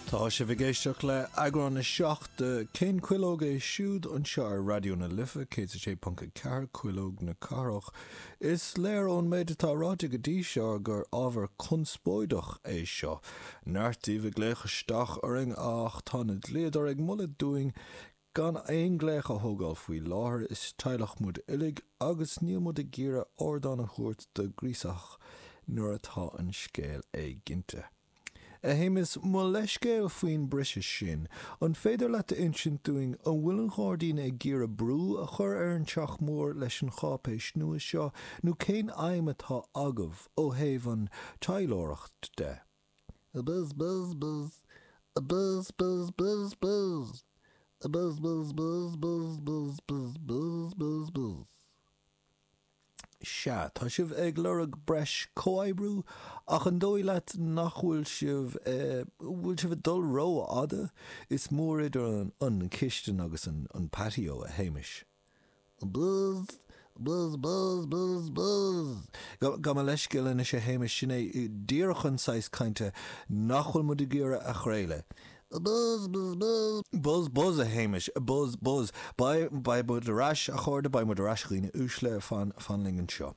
Tá sibh ag éisteacht le eagrán 7 de Cén Cuileog é Siúd anseo ar Raidió na Life 106.4, Cuileog na Cathrach. Is léir ón méid atá ráite go dtí seo gur ábhar conspóideach é seo. Neart daoibh ag glaoch isteach orainn ach tá na dlíodóirí ag moladh dúinn gan aon ghlaoch a thógáil faoi láthair, is teaghlach muid uilig agus níl muid ag iarraidh ardán a thabhairt do ghríosaitheach nuair atá an scéal éiginnte. A Shéamais, mo leithscéal faoin briseadh sin. An féidir leat a insint dúinn an bhfuil an Gairdín ag iarraidh brú a chur ar an Teach Mór leis an cháipéis nua seo nó cén aidhm atá agaibh ó thaobh an taidhleoireacht de? Buzz buzz buzz Buzz buzz buzz buzz Buzz buzz buzz buzz buzz buzz buzz buzz buzz. Sea, tá sibh ag lorg breis comhoibriú, ach an dóigh leat nach bhfuil sibh, eh, bhfuil sibh ag dul rófhada? Is mór idir an, an chistin agus an, an patio, a Shéamais. Buzz, buzz, buzz, buzz, buzz. Gabh mo leithscéal anois, a Shéamais, sin é díreach an saghas cainte nach bhfuil muid ag iarraidh a chraoladh. Buzz, buzz, buzz. Buzz, buzz, a Shéamais, buzz, buzz. Beidh, beidh muid ar ais, a chairde, beidh muid ar ais, a dhaoine uaisle, fan, fan linn anseo.